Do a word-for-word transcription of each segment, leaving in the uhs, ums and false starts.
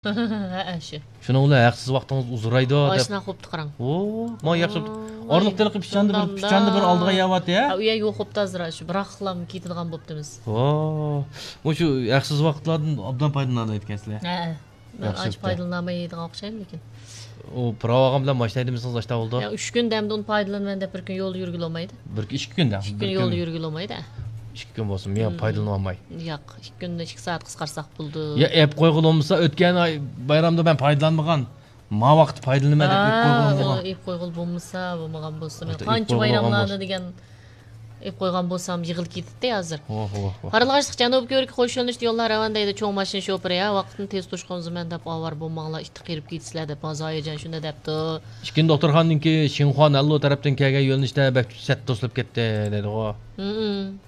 ھەئە، شۇ. شۇنىڭ بىلەن ھەقسىز ۋاقتىڭىز ئۇزىرايدۇ دەپ. ئاشۇنى قوپتى قاراڭ. ئۇ، ما ياخشى بوپتۇ. ئارىلىق تېلىقى پىچاندا بىر، پىچاندا بىر ئالدىغا يەۋاتى، ھە؟ ھە، ئۇ يەر يوق بوپتۇ ھازىر، شۇ بىراقلا كېتىدىغان بوپتىمىز. ۋو، مۇشۇ ھەقسىز ۋاقىتلاردىن ئوبدان پايدىلىنالايدىكەنسىلەر. ھەئە. مەن ئانچە پايدىلىنالمايدىغان ئوخشايمەن لېكىن. ئۇ پىراۋ ئالغان بىلەن ماشىنا ھەيدىمىسىڭىز ئاشتا بولىدۇ. يا، ئۈچ كۈن دەمدە ئۇنى پايدىلىنىمەن دەپ بىر كۈن يولدا يۈرگىلى بولمايدۇ. بىر، ئىككى كۈن دەم. ئىككى كۈن يولدا يۈرگىلى بولمايدۇ. ئىككى كۈن بولسىمۇ، يا، پايدىلىنالماي. ياق، ئىككى كۈندىن ئىككى سائەت قىسقارتساق بولىدۇ. يا، ئەپ قويغىلى بولمىسا، ئۆتكەن ئاي بايرامدا مەن پايدىلانمىغان. ما ۋاقىتتا پايدىلىنىمەن دەپ ئېلىپ قويغىلى بولمىغان. ئېلىپ قويغىلى بولمىسا، بولمىغان بولسا، مەن قانچە بايراملاردا دېگەن ئېلىپ قويغان بولسام يىغىلىپ كېتەتتى ھازىر. ۋاھ، ۋاھ، ۋاھ. قارلىغاچلىق جەنۇبىي كۆۋرۈككە قوش يۆنىلىشتە يوللار رەۋانە دەيدۇ، چوڭ ماشىنا شوپۇرى، ھە، ۋاقىتنى تېز توشقۇنزىمەن دەپ ئاۋارە بولماڭلار، ئىتتىك قېرىپ كېتىسىلەر دەپ، ھازىر ھاياجان شۇنداق دەپتۇ. ئىككىنچى دوختۇرخانىنىڭكى شىنخۇا نەنلۇ تەرەپتىن كەلگەن يۆنىلىشتە بەك سەت توسۇلۇپ كەتتى دەيدىغۇ. ھىم.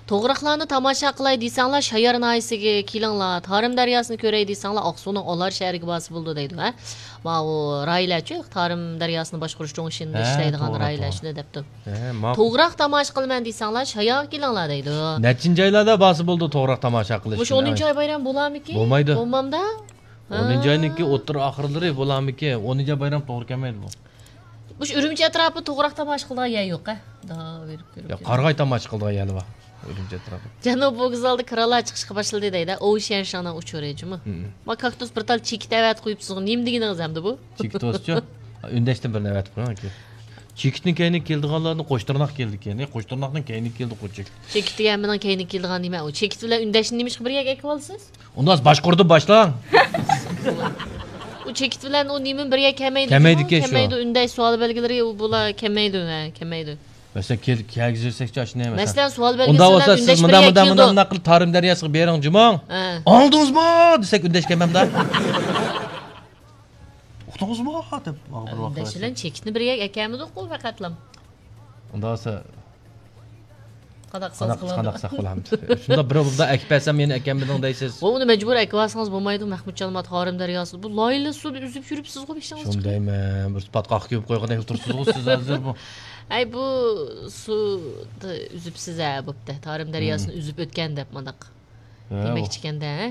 توغراقلارنى تاماشا قىلاي دېسەڭلار، شايار ناھىيەسىگە كېلىڭلار. تارىم دەرياسىنى كۆرەي دېسەڭلار، ئاقسۇنىڭ ئالار شەھىرىگە بارسا بولىدۇ دەيدۇ، ھە؟ ماۋۇ رايلەرچۇ، تارىم دەرياسىنى باشقۇرۇش چوڭ ئىشىنى ھە، ئىشلەيدىغان توغرا، رايلار توغرا. شۇنى دەپتۇ. ھە، ماقۇل. توغراق تاماشا قىلىمەن دېسەڭلار، شايارغا كېلىڭلار دەيدۇ. نەچچىنچى ئايلاردا بارسا بولىدۇ توغراق تاماشا قىلىش مۇشۇ ئۈچۈن؟ ئونىنچى ئاي بايرام بولارمىكىن؟ بولمايدۇ. بولمامدا؟ ئونىنچى ھە. ئاينىڭكى ئوتتۇرا ئاخىرلىرى بولارمىكىن؟ ئونىنچى ئاي بايرام توغرا كەلمەيدۇ بۇ. مۇشۇ ئۈرۈمچى ئەتراپىدا توغراق تاماشا قىلىدىغان يەر يوق، ھە؟ دا بېرىپ كۆرۈپ يا، كېلىڭ. قارىغاي تاماشا قىلىدىغان يەرلەر بار. ئۈرۈمچى ئەتراپىدا. جەنۇبىي ۋوگزالدا كىرانلار چىقىشقا باشلىدى دەيدۇ. ئوۋشيەنشاڭنىڭ ئۇچۇرى جۇمۇ. ھىم. ما كاكتۇس بىر تال چېكىت ئەۋەتىپ قويۇپسىزغۇ. نېمە دېگىنىڭىز ئەمدى بۇ؟ چېكىت بولسىچۇ؟ ئۈندەشتىن بىرنى ئەۋەتىپ قويۇڭ ئاكا. چېكىتنىڭ كەينىگە كېلىدىغانلارنى قوش تىرناق كېلىدىكەن. ئەي، قوش تىرناقنىڭ كەينىگە كېلىدۇ قوچەك. چېكىت دېگەن مېنىڭ كەينىگە كېلىدىغان نېمە؟ ئۇ چېكىت بىلەن ئۈندەشنى نېمىشقا بىر يەرگە ئەكىۋالىسىز؟ ئۇنداق باشقۇردىن باشلاڭ. ئۇ چېكىت بىلەن ئۇ نېمە بىر يەرگە كەلمەيدۇ. كەلمەيدىكەن شۇ. كەلمەيدۇ، ئۈندەش سوئال بەلگىلىرى، ئۇ بۇلار كەلمەيدۇ، ھە، كەلمەيدۇ. مەسىلەن، كەل-، كەلگۈزۈرسەكچۇ ئاشۇنى، مەسىلەن. مەسىلەن، سوئال بەلگىسى ئۇنداق بىلەن بولسا، ئۈندەش سىز بىر مۇنداق، يەرگە مۇنداق، كېلىدۇ. مۇنداق، مۇنداق قىلىپ، تارىم دەرياسىغا بېرىڭ جۇمۇ. ھە. ئاڭلىدىڭىزمۇ دېسەك، ئۈندەش كەلمەمدۇ. ئۇقتىڭىزمۇ دەپ، ماڭا بىر ۋاقىت ئۈندەش بىلەن چېكىتنى بىر يەرگە ئەكەلمىدۇققۇ پەقەتلا. ئۇنداق بولسا، قانداق قىلساڭىز قىلىڭ. قانداق قىلساق قىلامىز. شۇنداق بىر بۇلدا ئەكىپ بەرسەم، يەنە ئەكەممىدىڭ دەيسىز. بۇ، ئۇنى مەجبۇرىي ئەكىۋالسىڭىز بولمايدۇ، مەھمۇتجان، ما تارىم دەرياسىدا. بۇ لايلا سۇدا ئۈزۈپ يۈرۈپسىزغۇ بېشىڭىز چىقىپ. شۇندايمەن، بىر پاتقاققا كۆمۈپ قويغاندەك تۇرۇپسىزغۇ سىز ھازىر بۇ. ئەي، بۇ سۇدا ئۈزۈپسىز ھە، بوپتۇ. تارىم دەرياسىنى ئۈزۈپ ئۆتكەن دەپ مانداق. ھە، دېمەكچىكەندە، ھە؟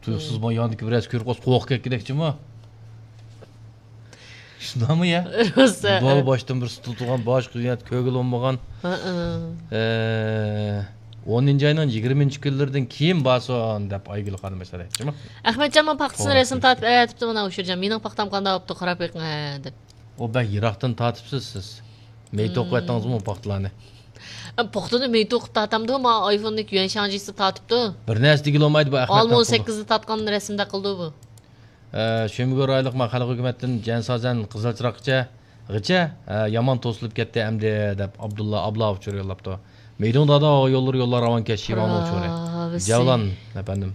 تۇيۇقسىز ما ياندىكى بىرەرسى كۆرۈپ قالسا، قورقۇپ كەتكۈدەكچىمۇ؟ شۇنداقمۇ يا؟ روسا. بۇ باشتىن بىر تۇتۇلغان، باشقا يەردە كۆرگىلى بولمىغان. ھە، ھە. ئە، ئونىنچى ئاينىڭ يىگىرمىنچى كۈنلىرىدىن كېيىن بارسۇن دەپ ئايگۈل خانىم مەسەلە ئېيتىپتىمۇ؟ ئەخمەتجان، مانا پاختىسىنى رەسىم تارتىپ ئەۋەتىپتۇ، مانا ئۇشۇرجان. مېنىڭ پاختام قانداق بوپتۇ، قاراپ بېقىڭ، ھە، دەپ. ئۇ بەك يىراقتىن تارتىپسىز سىز. مېيىت توقۇۋەتتىڭىزمۇ پاختىلارنى؟ ئە، پاختىنى مېيىت توقۇپ تارتامدۇ؟ ما ئايفوننى يۈەنشاڭجىسى تارتىپتۇ. بىر نەرسە دېگىلى بولمايدۇ بۇ ئەخمەت. ئالما ئون سەككىزدە تارتقان رەسىمدەك قىلىدۇ بۇ. ئە، شۆمىگۈل رايونلۇق ما خەلق ھۆكۈمەتتىن جەنسازەن قىزىل چىراغقىچە، غىچە، ئە، يامان توسۇلۇپ كەتتى ئەمدى دەپ ئابدۇللا ئابلا ئۇچۇر يوللاپتۇ. مېيدىڭ دادا يوللىرى يوللار راۋان كەش شىۋاڭنىڭ ئۇچۇرى. جەۋلان ئەپەندىم.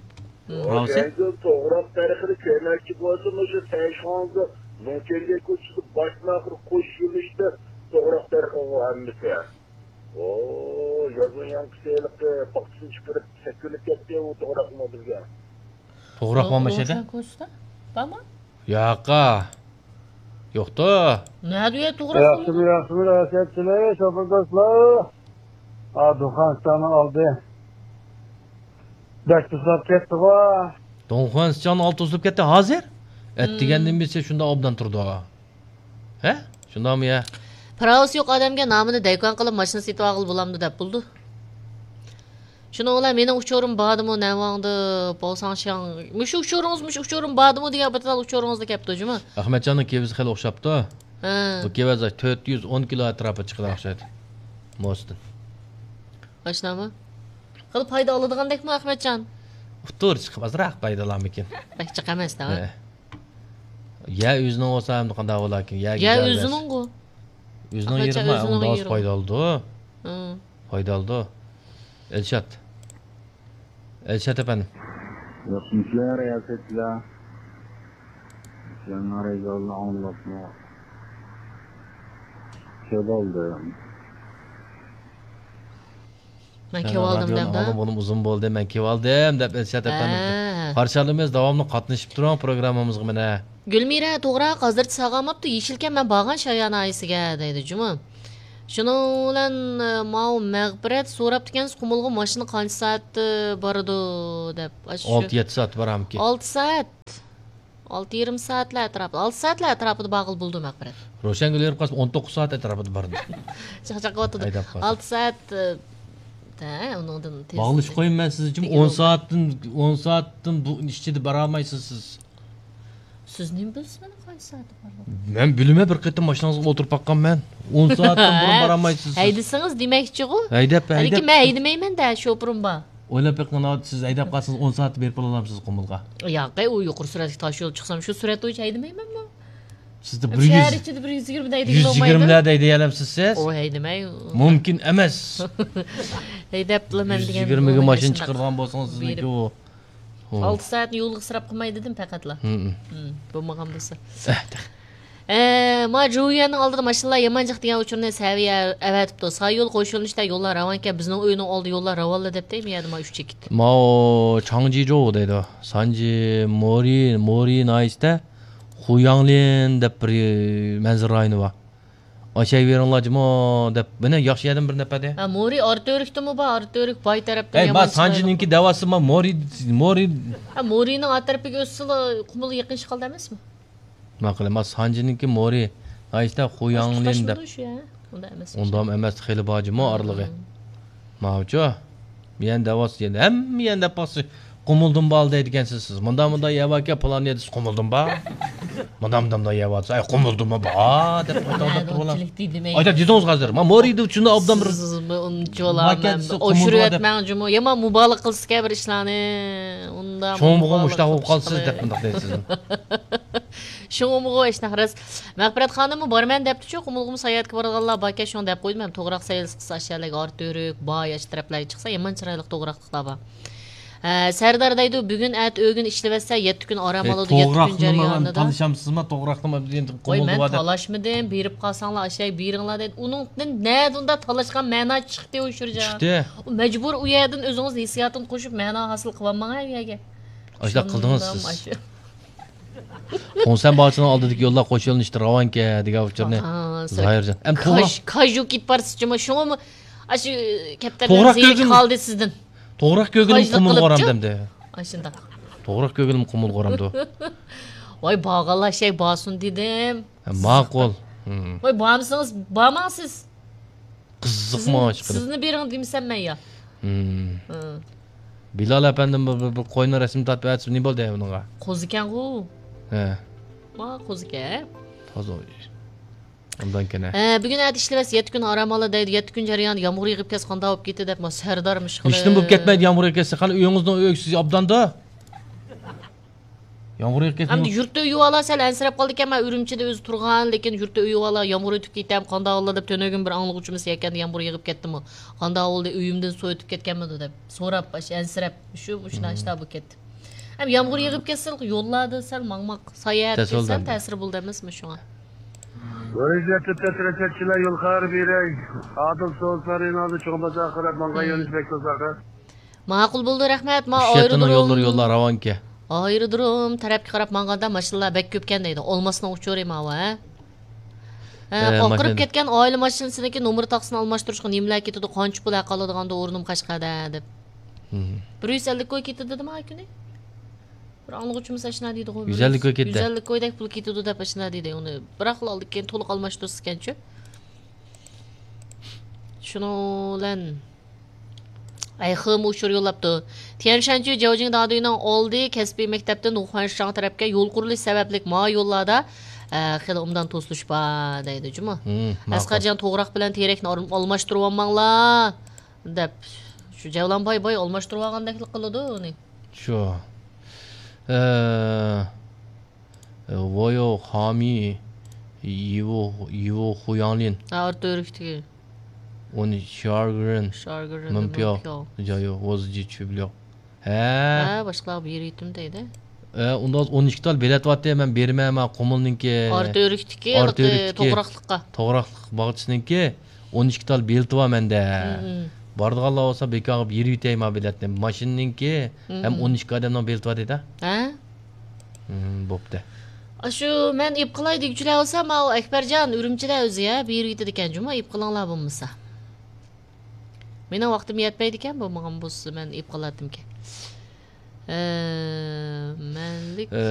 راۋسى؟ ئۇ جەڭگىل توغراق تەرىخىنى كۆرمەكچى بولسا، مۇشۇ سەيشىخانزا لۇڭچېنگە كوچىسىدا باشتىن ئاخىر قوش يۆنىلىشتە توغراق تەرىخىغۇ ھەممىسى. ئو، يازما ياڭقىسى ھېلىقى پاختىسىنى چىقىرىپ سەكرىنىپ كەتتى ئۇ توغراقمۇ بىزگە. توغراق بارمۇ شەدە؟ لۇڭچېن كوچىسىدا؟ بارمۇ؟ ياقا. يوقتۇ. نەدە ئۇ يەر توغراق؟ ياخشىمۇ، ياخشىمۇ، رەھەتچىلىك، شوپۇر دوستلار. ھا، دۇخان سىچاننىڭ ئالدى. بەك تۇزلاپ كەتتىغۇ. دۇخان سىچاننىڭ ئالدى تۇزلاپ كەتتى ھازىر؟ ئەتىگەندىن بېرى شۇنداق ئوبدان تۇرىدۇ. ھە؟ شۇنداقمۇ يا؟ پىراۋىسى يوق ئادەمگە نامىنى دەيكان قىلىپ ماشىنا سېتىۋالغىلى بولامدۇ دەپ بولىدۇ. شۇنىڭ بىلەن مېنىڭ ئۇچۇرۇم باردىمۇ، نەۋاڭدا، باۋساڭشياڭ. مۇشۇ ئۇچۇرىڭىز، مۇشۇ ئۇچۇرۇم باردىمۇ دېگەن بىر تال ئۇچۇرىڭىزدا كەپتۇ جۇمۇ. ئەخمەتجاننىڭ كېۋىزى خېلى ئوخشاپتۇ. ھە. بۇ كېۋەز تۆت يۈز ئون كىلو ئەتراپىدا چىقىدىغان ئوخشايدۇ. موزىدىن. ئاشۇنداقمۇ؟ خېلى پايدا ئالىدىغاندەكمۇ ئەخمەتجان؟ ئۇتتۇر چىقىپ ئازراق پايدا ئالامىكىن؟ بەك جىق ئەمەس-دە. ھە. يەر ئۆزىنىڭ بولسا ئەمدى قانداق بولاكىن؟ يەرگە يەر زەربەس. ئۆزىنىڭ يېرى. ئەخمەتجان، ما، ئۆزىنىڭ ئۇنداق يېرى. پايدا ئالىدۇ. ھە. پايدا ئالىدۇ. ئەلشات. ئەلشات ئەپەندىم. ياخشىمۇسىلەر، رىياسەتچىلەر؟ سىلەرنىڭ رەزالىقىنى ئاڭلاپمۇ كېلىۋالدىم. مەن كېلىۋالدىم دەمدۇ. ئۇزۇن بولدى، مەن كېلىۋالدىم دەپ ئەلشات ئەپەندىم. ھە. قارشى ئالىمىز، داۋاملىق قاتنىشىپ تۇرۇڭ پروگراممىمىزغا مانا. گۈلمىرە، توغراق ھازىرچە ساغالماپتۇ. يېشىلكەن، مەن بارغان شايار ناھىيەسىگە دەيدۇ جۇمۇ. شۇنىڭ بىلەن، ئە، ماۋۇ مەغپىرەت سوراپتىكەنسىز، قۇمۇلغا ماشىنا قانچە سائەتتە بارىدۇ دەپ. ئاشۇ ئالتە يەتتە سائەت بارامىكىن. ئالتە سائەت. ئالتە يېرىم سائەتلەر ئەتراپىدا، ئالتە سائەتلەر ئەتراپىدا بارغىلى بولىدۇ مەغپىرەت. روشەنگۈل ھېرىپ قالسا ئون توققۇز سائەت ئەتراپىدا بارىدۇ. چاقچاق قىلىۋاتىدۇ. ھەيدەپ قالسا. ئالتە سائەت، ئە، ھە، ئۇنىڭدىن تېز. باغلىشىپ قويۇڭ، مەن سىزنى جىم ئون سائەتتىن، ئون سائەتتىن بۇ ئىچىدە بارالمايسىز سىز. سىز نېمە بىلىسىز مېنىڭ قانچە سائەتتە بارغىنىمنى؟ مەن بىلىمەن، بىر قېتىم ماشىنىڭىزغا ئولتۇرۇپ باققان مەن. ئون سائەتتىن بۇرۇن بارالمايسىز سىز. ھەيدىسىڭىز دېمەكچىغۇ. ھەيدەپ، ھەيدەپ. ھەلىكى مەن ھەيدىمەيمەن-دە، شوپۇرۇم بار. ئويلاپ بېقىڭ، سىز ھەيدەپ قالسىڭىز، ئون سائەتتە بېرىپ بولالامسىز قۇمۇلغا؟ ياقەي، ئۇ يۇقىرى سۈرئەتلىك تاش يول چىقسام، شۇ سۈرئەت بويىچە ھەيدىمەيمەنمۇ؟ سىزدە بىر شەھەر يۈز، ئىچىدە بىر يۈز يىگىرمىدە ھەيدىگىلى بولمايدۇ. يۈز يىگىرمىلەردە ھەيدىيەلەمسىز سىز؟ ئۇ ھەيدىمەي. مۇمكىن ئەمەس. ھەيدەپلا مەن دېگەن يۈز يىگىرمىگە ماشىنا چىقىرىدىغان بولسىڭىز، سىزنىڭكى ئۇ. ئالتە سائەتنى يولغا ئىسراپ قىلماي دېدىم پەقەتلا. ھىم. ھىم، بولمىغان بولسا. ئە، ما جۇيۈەننىڭ ئالدىدا ماشىنىلار يامان جىق دېگەن ئۇچۇرنى سەۋىيە ئەۋەتىپتۇ. سايول قوشۇلۇشتا يوللار راۋانكەن، بىزنىڭ ئۆينىڭ ئالدى يوللار راۋانلا دەپتۇ، مۇ يەردە ما ئۈچ چېكىت. ماۋۇ چاڭجىجو دەيدۇ. سانجى مورى، مورى ناھىيەسىدە خۇياڭلىن دەپ بىر مەنزىرە رايونى بار. ئاشاي بېرىڭلار جۇمۇ دەپ، مانا ياخشى يەردىن بىر نەپەر دە. ھە، مورى ئارتۆرۈكتىمۇ بار، ئارتۆرۈك باي تەرەپتىن. ئەي، ما يامان سانجىنىڭكى دەۋاسى ما مورى، مورى. ھە، مورىنىڭ ئا تەرىپىگە ئۆتسىلا، قۇمۇلغا يېقىنلىشىپ قالدى ئەمەسمۇ؟ ماقۇل، ما سانجىنىڭكى مورى، ناھىيەسىدە خۇياڭلىن دەپ. تۇتاشمىدى شۇ، ھە؟ ئۇنداق ئەمەس. ئۇنداق ئەمەس، خېلى بار جۇمۇ ئارىلىقى. ماۋۇچۇ. يەنە دەۋاتسا، يەنە ھەممە يەنە دەپ باقسا، قۇمۇلدىن بار دەيدىكەنسىز سىز. مۇنداق، مۇنداق يەر باركەن، پالان يەردە سىز قۇمۇلدىن بار. مۇنداق، مۇنداق، مۇنداق يەر بارسا، ئەي، قۇمۇلدىنمۇ بار دەپ ئايتىۋاتىدۇ. ئايتىپ دېدىڭىز ھازىر. ما مورىدى ئۇچۇندا ئوبدان بىر. سىزمۇ ئۇنچىۋالا مەن ئوشۇرۇۋەتمەڭ جۇمۇ. يامان مۇبالىغە قىلسىكەن بىر ئىشلارنى. ئۇنداق شۇڭا بۇغۇ مۇشتاق بولۇپ قالسىز دەپ مۇنداق دەيسىز. شۇڭا بۇغۇ ئىشنى راست. مەغپىرەت خانىممۇ بارىمەن دەپتۇ شۇ، قۇمۇلغىمۇ ساياھەتكە بارىدىغانلار باركەن، شۇڭا دەپ قويدۇم. ھەم توغراق سەيلىسى قىلسا، ئاشۇ يەرلەرگە ئارتۆرۈك، باي، ئاشۇ تەرەپلەرگە چىقسا، يامان چىرايلىق توغراقلىقلار بار. ھە، سەردار دەيدۇ، بۈگۈن ئەتە ئۆگۈن ئىشلىۋەتسە، يەتتە كۈن ئارام ئالىدۇ، يەتتە كۈن جەريانىدا. تالىشامسىزما توغراقنىمۇ؟ ۋاي، مەن تالاشمىدىم، بېرىپ قالساڭلار، ئاشۇ يەرگە بېرىڭلار دەيدۇ. ئۇنىڭدىن نەدە ئۇنداق تالاشقان مەنا چىقتى ئۇ شۇرجان؟ چىقتى. ئۇ مەجبۇر ئۇ يەردىن ئۆزىڭىز ھېسسىياتىنى قوشۇپ مەنا ھاسىل قىلىۋالماڭ ئۇ يەرگە. ئاشۇنداق قىلدىڭىز سىز. خۇڭسەن باغچىسىنىڭ ئالدىدىكى يوللار قوش يۆنىلىشتە راۋانكەن دېگەن ئۇچۇرنى زاھىرجان. ئەمدى توغراق. كاژۇ كېتىپ بارسىز جۇمۇ، شۇڭىمۇ ئاشۇ كەپتەرلەر زېرىكىپ قالدى سىزدىن. توغراق كۆگىلىم قۇمۇلغا ئورامدۇ ئەمدى. ئاشۇنداق. توغراق كۆگىلىم قۇمۇلغا ئورامدۇ. ۋاي، بارغانلار شەي بارسۇن دېدىم. ماقۇل. ۋاي، بارمىسىڭىز بارماڭ سىز. قىزىقما ئىشقىلىپ. سىزنى بېرىڭ دېمىسەم مەن يا. بىلال ئەپەندىم بىر، بىر، بىر قوينىڭ رەسىمىنى تارتىپ ئەتسە نېمە بولدى ئۇنىڭغا؟ قوزىكەنغۇ. ھە. ما قوزىكەن. تازا ئوبدانكەن ھە. ھە، بۈگۈن ئەتە ئىشلىۋەتسە يەتتە كۈن ئارام ئالا دەيدۇ. يەتتە كۈن جەريانىدا يامغۇر يېغىپ كەتسە قانداق بولۇپ كېتىدۇ دەپ، ما سەردارمۇ ئىشقىلىپ. ھېچنېمە بولۇپ كەتمەيدۇ يامغۇر يېغىپ كەتسە. قېنى ئۆيىڭىزنىڭ ئۆيسىز ئوبداندۇ. يامغۇر يېغىپ كەتسە. ئەمدى يۇرتتا ئۆيۈۋالا سەل ئەنسىرەپ قالىدىكەن، مەن ئۈرۈمچىدە ئۆزى تۇرغان، لېكىن يۇرتتا ئۆيۈۋالا يامغۇر ئۆتۈپ كېتەم، قانداق بولدى دەپ تۈنۈگۈن بىر ئاڭلىغۇچىمىز يەكەندە يامغۇر يېغىپ كەتتىمۇ، قانداق بولدى، ئۆيۈمدىن سۇ ئۆتۈپ كەتكەنمىدۇ دەپ سوراپ، ئاشۇ ئەنسىرەپ، شۇ، مۇشۇنداق ئىشلار بولۇپ كەتتى. ھەم يامغۇر يېغىپ كەتسە يوللاردا سەل ماڭماق، ساياھەت سەل تەسىر بولىدۇ ئەمەسمۇ شۇڭا؟ بىرىنچى تەرتىپتە تىرىشەتچىلەر يول خەۋىرى بېرەي. ئادىل سوزۇلار رېنالدى چوڭ بازارغا قاراپ ماڭغان يۆنىلىش بەك ئۇزاق. ماقۇل بولدى، رەھمەت. ما ئۈچ شەھەرنىڭ يوللىرى، يوللار راۋانكەن. ئايرودروم تەرەپكە قاراپ ماڭغاندا ماشىنىلار بەك كۆپكەن دەيدۇ. ئالماسنىڭ ئۇچۇرى ماۋۇ، ھە؟ ھە، ئاقىرىپ كەتكەن ئائىلە ماشىنىسىنىڭكى نومۇر تاقىسىنى ئالماشتۇرۇشقا نېمىلەر كېتىدۇ، قانچە پۇل ھەق ئالىدىغاندۇ ئورنۇم قەشقەردە دەپ. بىر يۈز ئەللىك كوي كېتىدۇ دېدىم ھا كۈنى. بىر ئاڭلىغۇچىمىز ئاشۇنداق دېدىغۇ. يۈز ئەللىك كوي كېتىدۇ. يۈز ئەللىك كويدەك پۇل كېتىدۇ دەپ ئاشۇنداق دېدى. ئۇنى بىراقلا ئالدى كېيىن تولۇق ئالماشتۇرسىكەنچۇ. شۇنىڭ بىلەن ئەي، خېمۇ ئۇچۇر يوللاپتۇ. تيەنشەنچۈ جياۋجىڭ دادۈينىڭ ئالدى كەسپىي مەكتەپتىن ۋۇخەنشاڭ تەرەپكە يول قۇرۇلۇشى سەۋەبلىك ما يوللاردا، ئە، خېلى ئوبدان توسۇلۇش بار دەيدۇ جۇمۇ. ھىم، ماقۇل. ئەسقەرجان توغراق بىلەن تېرەكنى ئال-، ئالماشتۇرۇۋالماڭلار دەپ. شۇ جەۋلان باي باي ئالماشتۇرۇۋالغاندەكلا قىلىدۇ ئۇنى. شۇ. ئە، ۋويو خامى، يىۋو، يىۋو خۇياڭلىن. ھە، ئارتۇ ئۆرۈكتىكى. ئۇنى شارگرىن، شارگرىن، مىنپياۋ، مىنپياۋ. جايو، ۋوزجى چۈبليوق. ھە. ھە، باشقىلارغا بېرىۋېتىم دەيدۇ. ھە، ئۇندا ھازىر ئون ئىككى تال بېلەت بارتى، مەن بېرىمەن، مانا قۇمۇلنىڭكى. ئارتۇ ئۆرۈكتىكى، ئارتۇ ئۆرۈكتىكى توغراقلىققا. توغراقلىق باغچىسىنىڭكى. ئون ئىككى تال بېلىتى بار مەندە. مم. بارىدىغانلار بولسا بىكارغا بېرىۋېتەي ما بېلەتنى. ماشىنىنىڭكى ھەم مم. ئون ئىككى ئادەمنىڭ بېلىتى بار دېدى. ھە؟ مم، بوپتۇ. ئاشۇ مەن ئېپ قىلاي دېگۈچىلەر بولسا، ماۋۇ ئەكبەرجان ئۈرۈمچىدە ئۆزى يا، بېرىۋېتىدىكەن جۇمۇ، ئېپ قىلىڭلار بولمىسا. مېنىڭ ۋاقتىم يەتمەيدىكەن، بولمىغان بولسا مەن ئېپ قىلاتتىمكەن. ئە، مەنلىك. ئە،